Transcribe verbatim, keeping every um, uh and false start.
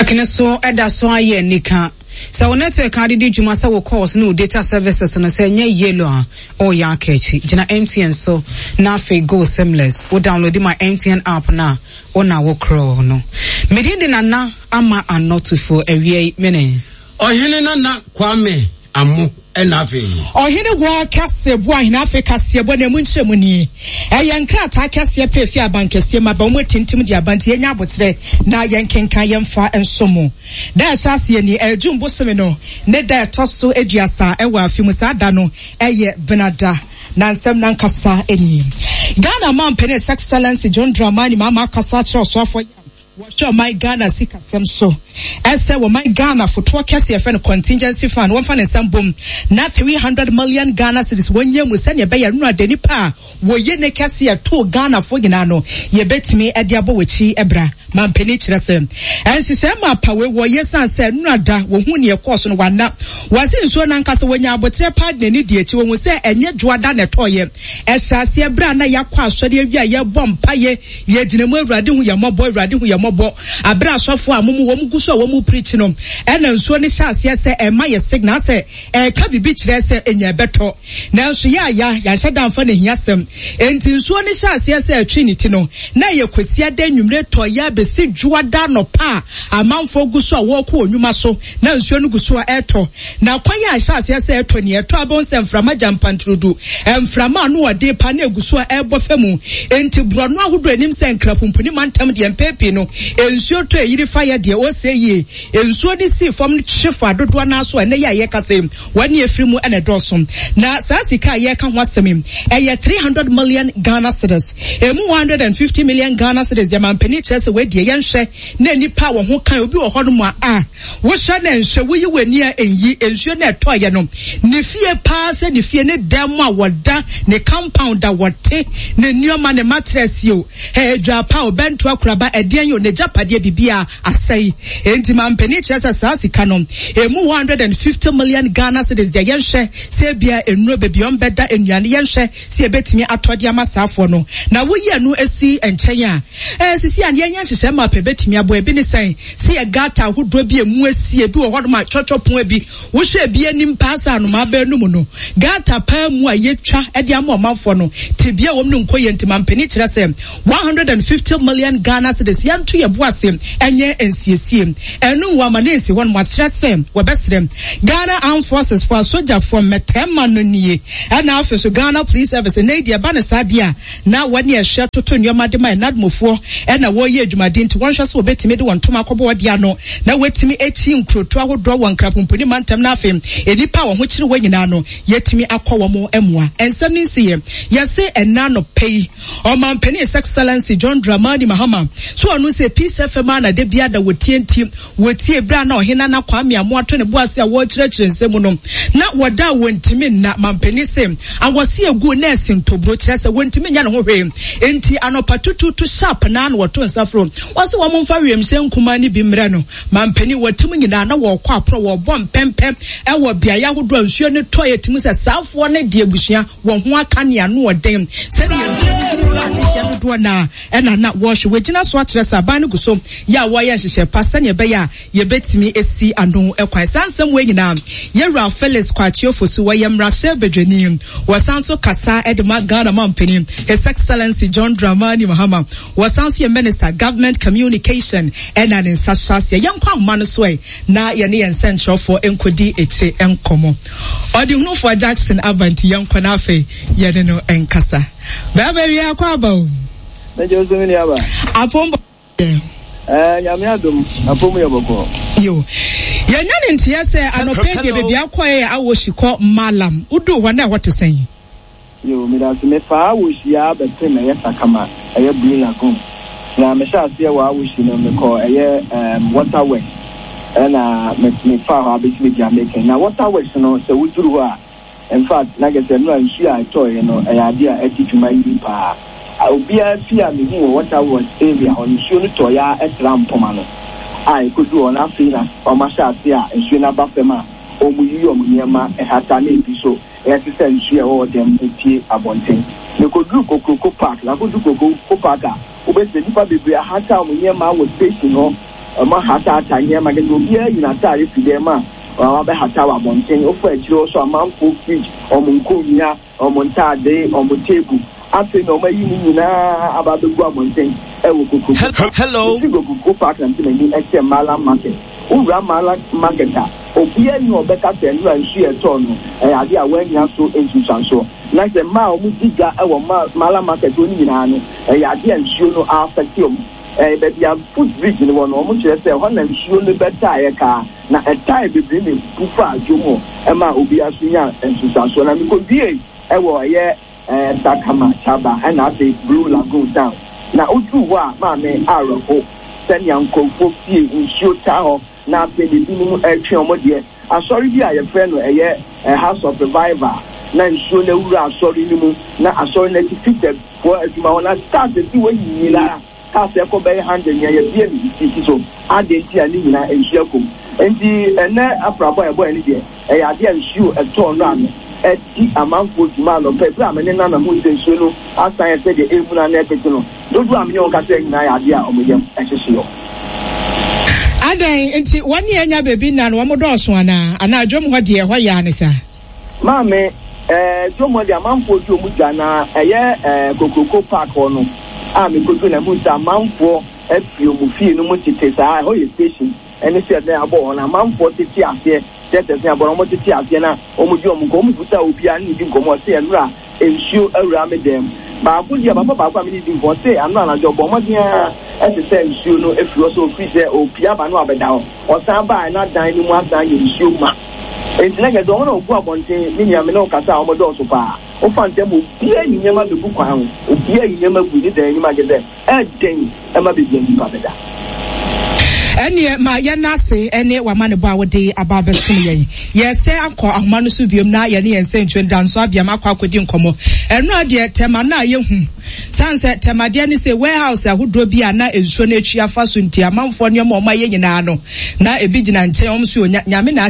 Network no so ɛda so ayɛ nika. Sɛ wo network ade di dwuma sɛ wo calls ne wo data services no sɛ ɛnyɛ yellow a, ɔyɛ aka akyi. Gyina M T N so na afei go seamless. Wo download my M T N app na wo na wo korɔ no. Medin de Nana Ama Anɔtofo awia yi mene. Ɔhene Nana Kwame Amo ɛna afei. Ɔhene wɔ kɛse bo ahene afei kaseɛ bɔ na emu nkyerɛ mu nie. Ɛyɛ nkrataa kɛseɛ pɛ efi abankɛseɛ mu aba. Wɔn atintim de aba nti yɛnya abotrɛ na yɛnkenkan yɛmfa nso mu. Da ɛhyɛ aseɛ ni, ɛyɛ June bosome no ne da ɛtɔ so aduasa ɛwɔ afi mu. Saa da no ɛyɛ Benada na nsɛm nankasa nie. Ghana mampanin, His Excellency John Dramani Mahama, akasa akyerɛ ɔsoafoɔ wɔhwɛ ɔman Ghana sikasɛm so ɛsɛ wɔman Ghana fotoɔ kɛse yɛfrɛ no contingency fund, wɔmfa ne nsɛm bom na three hundred million Ghana cedis wɔnyɛ mu sɛnea ɛbɛyɛ no ade nipa a wɔyɛ ne kɛse ɛtoo Ghanafoɔ nyinaa no yɛbɛtumi de abɔ wɔakyi ɛbra. Mampanin kyerɛ sɛ ɛnhyehyɛ ma apawe wɔyɛ san sɛ nnura da wɔhu neɛ ɛkɔɔ so no wana wɔse nsuo nankasa wɔnya abotrɛ paa de n'ani di akyi. Wɔhu sɛ ɛnyɛ Dwoada na ɛtɔɔyɛ. Ɛhyɛ aseɛ berɛ a na yɛakɔ asɔre awie a yɛbɔ mpayɛ, yɛgyina mu, "Awurade hu yɛ mmɔbɔ, Awurade hu yɛ mmɔbɔ." Aberɛ asɔfoɔ a momu wɔn gu so a wɔn preach no, ɛna nsuo no hyɛ aseɛ sɛ ɛma yɛ signal sɛ ɛɛka biribi kyerɛ sɛ ɛnya ɛbɛtɔ, nanso yɛ aya yɛahyɛ da mfa ne hia sɛm. Enti nsuo no hyɛ aseɛ sɛ ɛtwe ne ti no na ɛyɛ Kwasiada nnwumire tɔ yɛ abɛsi Dwoada nɔpa a amanfoɔ gu so a wɔrekɔ wɔn nnwuma so na nsuo no gu so a ɛretɔ. Na kwan a ɛhyɛ aseɛ sɛ ɛtɔ ni, ɛtɔ abɛn sɛ mframa gya mpanturudu, mframa ano ɔden pa na egu so a ɛrebɔ fam. Enti borɔno ahodoɔ anim sɛ Nkrapumpuni mantam deɛ, mpɛn pii no nsuo tɔ eyiri fa yɛ deɛ ɔsɛ yie. Nsuo no si fam no kye fa dodoɔ naa so a ɛnɛ yɛ a yɛka sɛ wɔne efiri mu ɛna ɛdɔɔso. Na saa sika a yɛka ho asɛm yi ɛyɛ three hundred million Ghana cedis. Emu one hundred and fifty million Ghana cedis deɛ, mampanin kyerɛ sɛ wɔadie yɛnhwɛ na nipa a wɔn ho kan obi wɔ hɔnom a a wohyɛ na nhwɛ woyi w'ani a nyi nsuo na ɛtɔɔyɛ no ne fie paa sɛ ne fie ne dan mu a wɔda, ne compound a wɔte, ne nneɛma, ne mattress yi o, ɛɛ dwapa o, bɛnto akoraba ɛdeɛn yi o, ne gyapadeɛ bibi a asɛe. Enti mampanin kyerɛ sɛ saa sika no emu one hundred and fifty million Ghana cedis deɛ, yɛnhwɛ sɛ ebia nnuro beebi wɔn bɛda, nnuane, yɛnhwɛ sɛ yɛbɛtumi atɔ de ama saafoɔ no. Na woyi ɛno esi nkyɛn a, ɛɛ sisi a yɛnyɛ nhyehyɛ ma pɛ bɛtumi aboa. Ebi ne sɛn sɛ yɛ gutter ahodoɔ bi emu esi, ebi wɔ hɔnom a twɔtwɔ pon bi wohwɛ ebi anim paa sɛ anomaa bɛɛ no mu no, gutter paa mu a yɛtwa de ama ɔmanfoɔ no tebea wɔm no nkɔ yɛ. Nti mampanin kyerɛ sɛ one hundred and fifty million Ghana cedis yɛnto yɛ bo ase ɛnyɛ nsiesie ɛno wɔ ama ne nsi hɔ no. Akyerɛ sɛ wɔbɛsrɛ Ghana Armed Forces fo, asogyafoɔ mmɛtɛɛma no nie, ɛna afei so Ghana Police Service ne deɛ ɛba ne saa deɛ a na wɔne ɛhwɛ toto nneɛma de ma ɛnadmofoɔ ɛna wɔreyɛ adwumaden, nti wɔnhwɛ sɛ wɔbɛtumi de wɔn ntoma akɔbɔ wɔde ano na wɔatumi akyi nkuroto ahodoɔ wɔ Nkrapomponi mantam, na afei nnipa a wɔn ho kyerɛ wɔn nyinaa no yɛtumi akɔ wɔn mmoa. Nsɛm ne nsi yɛ yɛse ɛna no pɛ yi, ɔmampanin His Excellency John Dramani Mahama so ɔno sɛ Peace F M a na de bia da wɔtie, nti wɔtie berɛ a na ɔhene Nana Kwame Amoato ne bo ase a wɔrekyerɛkyerɛ nsɛm no na wɔda a wɔntumi nna. Mampanin sɛ awɔse egu nɛɛse ntoburo kyerɛ sɛ wɔntumi nya ne ho hwee, nti anɔpa tututu sharp naa na wɔto nsa foro wɔsi wɔn mfa wiemhyɛn nkumaa ne bi mmerɛ no. Mampanin wɔte mu nyinaa na wɔrekɔ aporɔ, wɔrebɔ mpɛmpɛ ɛwɔ beaeɛ ahodoɔ a nsuo no tɔ. Yɛ tumi sɛ saafoɔ no de abusua wɔn ho aka ne ano ɔden sɛdeɛ nsuo no yiri fa adehyɛ dodoɔ naa ɛna na wɔrehwɛ. Wɔgyina so akyerɛ sɛ aban no gu so yɛ a wɔyɛ nhyehyɛ pa sɛnea ɛbɛyɛ a yɛbɛtumi esi ano kwan. Saa nsɛm wɔ nyinaa, yɛwura Felix Kwakye Ofosu, wɔyɛ mmarahyɛ badwani, wɔsan so kasa de ma Ghana mampanin His Excellency John Dramani Mahama, wɔsan so yɛ Minister Government Communication ɛna ne nsa hyɛ aseɛ. Yɛnkɔ ahoma no so ɛ na yɛne yɛn nsɛnkyerɛfoɔ nkɔdi akyire nkɔmmɔ. Ɔde hunufoɔ Jackson aba, nti yɛnkɔ no afei yɛne no nkasa. Bɛrima wie akɔ aba o. Mɛgye nso mi ni aba. Apɔmbɔ. Ɛɛ, Nyame adom, apɔm yɛ bɔkɔ. Yo. Yɛnya ne nteɛ sɛ anɔpɛ deɛ baabi akɔɛ yɛ Awoshie kɔ Malam. Woduu hɔ na ɛhɔ te sɛn? Yo, medase. Mefaa Awoshie a bɛpem ɛyɛ Sakama, ɛyɛ Blue Lagoon. Na mehyɛ aseɛ wɔ Awoshie no, mekɔ ɛyɛ um, water works ɛna me mefaa hɔ abɛsi baabi a meka. Na water works no, sɛ woduru hɔ a, in fact, na kɛ sɛ nnura nsuo a ɛtɔɔeɛ no ɛyɛ adeɛ a ɛdi dwuma yie paa. Obiara fi a mehu wɔ water works area hɔ no, nsuo no tɔɔeɛ a ɛtra mpoma no a ɛkɔduru hɔ no, afei na wɔn ahyɛ ase a nsuo no aba fam a wɔn yiyi wɔn nneɛma ɛhata na ebi so ɛte sɛ nsuo a ɛwɔ hɔ dɛm epie abɔnten. Mekɔduru Kokroko Park, na akɔduru Kokroko Park a, wobɛsɛ nnipa bebree ahata wɔn nneɛma wɔ station hɔ. Wɔahatahata nneɛma, kyerɛ sɛ obiara ayi n'ataade fi dan mu a wabɛhata wɔ abɔnten. Wofa akyire hɔ nso a, amanfoɔ fridge, wɔn nkonnwa, wɔn ntaade, wɔn table, afei na wɔayi ne nyinaa aba abɛgu abɔnten wɔ Kokroko. Hello. Mefiri Kokroko Park na mede m'ani kyerɛ Mallam Market. Wowura Mallam Market a, obiara nni hɔ a ɔbɛka sɛ nnora nsuo a ɛtɔɔ no, ɛyɛ adeɛ a wannya so nsunsuansoɔ. Na sɛ mmaa a wɔdi dwa wɔ Mallam Market hɔ no nyinaa no, ɛyɛ adeɛ a nsuo no a-affect wɔn. Ɛɛ, baabi a foot bridge no wɔ no, wɔkyerɛ sɛ ɛhɔ na nsuo no bɛtaeɛ kaa, na ɛtae bebree na ɛbu faa dwom hɔ maa obiara nso nyaa nsunsuansoɔ. Na mekɔwiee wɔ ɛyɛ ɛɛ Sakama, Chaba, ɛna afei Blue Lagoon Town. Na woduu hɔ a, maame awerɛho sɛnea nkurɔfoɔ fie nsuo taa hɔ, na afei na ebinom retwe wɔn deɛ. Asɔre bi a yɛfrɛ no ɛyɛ House of Revival, na nsuo no awura asɔre no mu, na asɔre no atifi foɔ adwuma hɔ na cars esi hɔ nyinaa cars ɛkɔ bɛyɛ hundred nea yɛbie no sisi so adɛn nti a ne nyinaa nsuo akɔ mu nti ɛnɛ aprabɔ a ɛbɔɛ ne deɛ ɛyɛ adeɛ a nsuo ɛtɔɔ no ano ɛdi amanfoɔ dwuma anɔpɛ berɛ a me ne nana hu sɛ nsuo no asan yɛ sɛdeɛ ɛmuna na ɛpete no dodoɔ a me ne wɔn kasa nyinaa yɛ adeɛ a wɔn yam ɛhyehye yɔ. Adɛn nti wɔn ne anya baabi nna no wɔn dɔɔso anaa anaa dwom hɔ deɛ ɛhɔ yɛ ane saa? Maame, ɛɛ dwom hɔ deɛ amanfoɔ di wɔn dwa na ɛyɛ ɛɛ Kokroko Park hɔ no a mekɔduru na mehu sɛ amanfoɔ afiri wɔn fie no mu tete saa, ɛhɔ yɛ station ɛne sɛ ɛdɛn abɔ hɔ no amanfoɔ tete aseɛ kyerɛ sɛ sɛ abɔ no wɔn tete aseɛ na wɔn di wɔn nkɔmmɔ, wɔn bisa obiara ne ne di nkɔmmɔ ɔse ɛnora nsuo awura me dan mu. Baako deɛ papa baako a me ne di nkɔmmɔ ɔse anora anadwo ɔbɔ mmɔden ara ɛte sɛ nsuo no afiri hɔ sɛ ɔfiri sɛ ɔpia aba no abɛda hɔ ɔsan baa na dan no mu asan yɛ nsuo ma. Enti na kyerɛ sɛ wɔn a wɔgu abɔnten, me nua, me ne wo kasa a, wɔdɔɔso paa. Wofa ntɛm a, obiara yi nneɛma bɛgu kwan ho, obiara yi nneɛma gu ne dan anim a kyerɛ sɛ ɛyɛ den ma baabi a nnipa bɛda. Ɛnneɛ ma yɛnna ase ne w'amanebɔ a wode aba abɛsom yɛn. Yɛresɛ akɔ ahoma no so biom na yɛne yɛn nsɛntwerɛ Danso Abiam akɔ akɔdi nkɔmmɔ. Ɛno a deɛ tɛma no a yɛhu. Sane sɛ tɛmadeɛ ne sɛ warehouse ahodoɔ bi a na nsuo no atwi afa so nti amanfoɔ nneɛma a wɔayɛ nyinaa no na ebi gyina nkyɛn wɔn nso Nyame na ahyɛ